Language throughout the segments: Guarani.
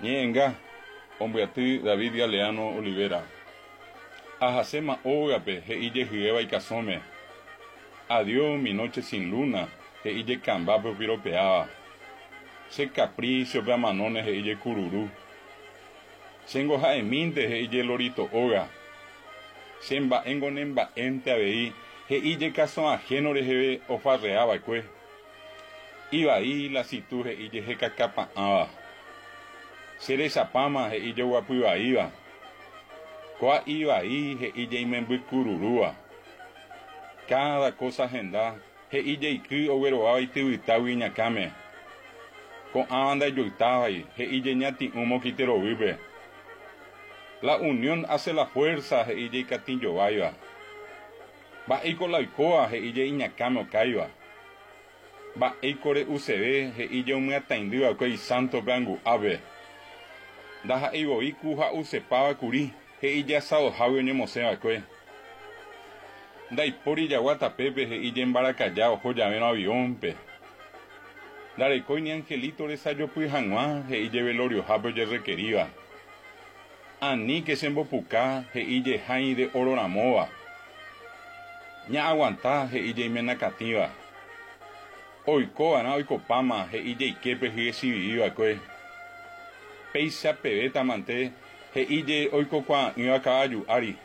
Ñe'ẽnga, ombyaty David Galeano Olivera. Ahaséma ógape, he'i jehyéva ikasõme. Adiós, mi noche sin luna, he'i jekambápe opiropeáva. Che capricho-pe amanóne, he'i jekururu. Chéngo ha'emínte, he'i je lorito óga. Che mba'éngo ne mba'énte avei, he'i je kasõ ajeno reheve ofarrea va'ekue. Ivai la situ he'i je hekakapa'ãva. Che rechapáma, he'i je oguapy vaíva. Kóa ivai, he'i je imemby kururúva. Cada cosa henda, He'i jeiky oguerováva ityvytágui iñakãme. Ko'ãva ndaijuytávai, he'i jeñati'ũ mokiterovýpe. La unión hace la fuerza, he'i jeikatĩjováiva. Mba'éiko la oikóva, he'i je iñakãme okáiva. Mba'éiko re'useve, he'i je omyataindy va'ekue isántope angu'ápe. Ndaha'éi voi ku ha'usepáva kuri, he'i je asadohágui oñemosẽ va'ekue. Ndaipóri jagua tapépe he'i je mbarakaja oho javérõ avión-pe. Ndarekói ni angelito resajopy hag̃ua, he'i je veloriohápe ojerrekeríva. Aníke chembopuka, he'i je hãi de oro ramóva. Ña'aguanta, he'i je imenakatĩva. Oikova'erã oikopáma, he'i jeiképe hye chivivi va'ekue. Péicha pevéta mante, he'i je oikokuaa'ỹva kavaju ári.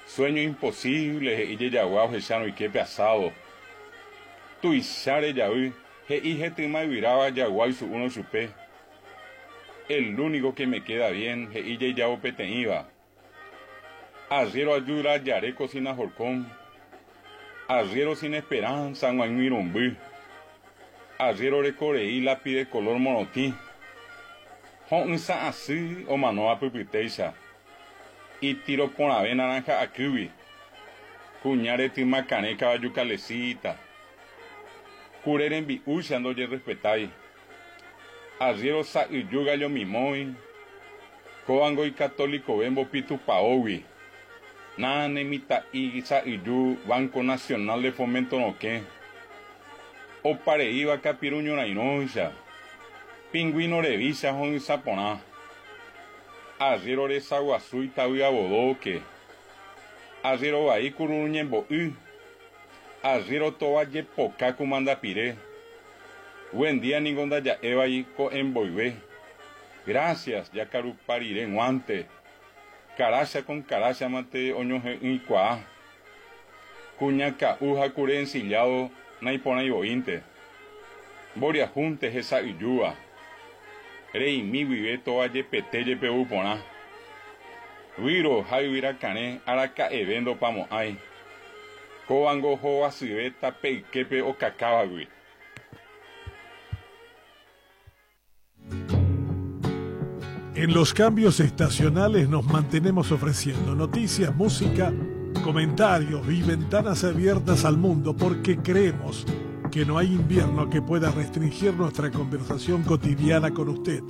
Sueño imposible, he'i jejagua ohechárõ iképe asado. Tuicha rejavy, he'i hetyma yvyráva jagua oisu'úrõ chupe. El único que me queda bien, he'i jejavo peteĩva. Arriero ayuda jare cocina horcón. Arriero sin esperanza g̃uaig̃uirũmby. Arriero rekorei lápiz de color morotĩ. Ho'ysã asy omanóva pypytéicha. Itiro porãve naranja akýgui. Kuña retyma karẽ kavaju kalesíta. Kure rembi'úicha ndojerrespetái. Arriero sa'yju gallo mimói. Kóvango ikatolikove mbopi tupaógui. Na ne mitã'i sa'yju Banco Nacional de Fomento rokẽ. Opareíva kapiru ñorairõicha. Pingüino revícha ho'ysã porã. Arriero resa guasu itavy avodóke. Arriero vai kururu ñembo'y. Arriero tova jepoka kumanda pire. Buen día ningo ndaja'évai ko'ẽ mboyve. Gracias jakarupa rire g̃uánte. Karácha con karácha mante oñohe'ỹikuaa. Kuña ka'u ha kure ensillado naiporãi voínte. Mboriahúnte hesa'yjúva. Reimi guive tova jepete jepe ou porã. Výro ha yvyra karẽ araka'eve ndopamo'ãi. Kóvango hovasyve tape yképe okakávagui. En los cambios estacionales nos mantenemos ofreciendo noticias, música, comentarios y ventanas abiertas al mundo porque creemos que no hay invierno que pueda restringir nuestra conversación cotidiana con usted.